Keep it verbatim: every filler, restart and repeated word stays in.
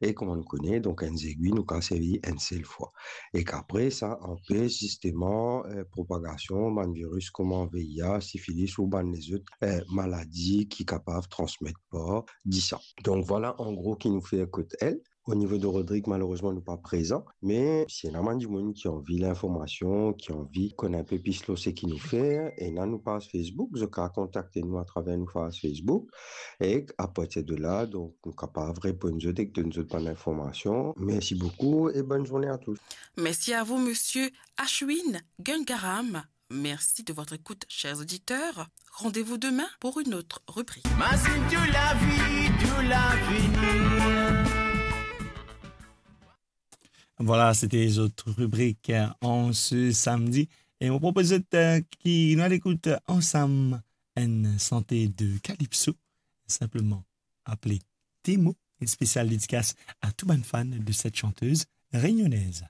E kouma nou kone, donk enn zegwi nou kapav servi enn sel fwa. Ek apre, sa anpes zisteman, eh, propagasion bann viris kouma V I H, sifilis ou bann lezot, eh, maladi ki kapav transmet par disan. Donk vwala an gro ki nou fer kot L. O nivo de Rodrig, malerezman, nou pa prezan, me si ena bann dimoun ki anvi linformasion, ki anvi konn inpe plis lor seki nou fer, ena nou paz Facebook, zot kapav kontakte nou atraver nou paz Facebook, ek apartir de la, donk, nou kapav reponn zot ek donn zot bann linformasion. Mersi boukou e bonn zourne a tous. Merci à vous, monsieur Ashwin Gangaram. Merci de votre écoute, chers auditeurs. Rendez-vous demain pour une autre rubrique. Mazinn tou lavi, tou lavini. Vwala, sete zot ribrik, eh, an se samdi. E mo propoz zot, eh, ki nou al ekout ansam enn sante de calypso, sinpleman apele Demo, enn spesial dedikas a tou bann fan de cette chanteuse réunionnaise.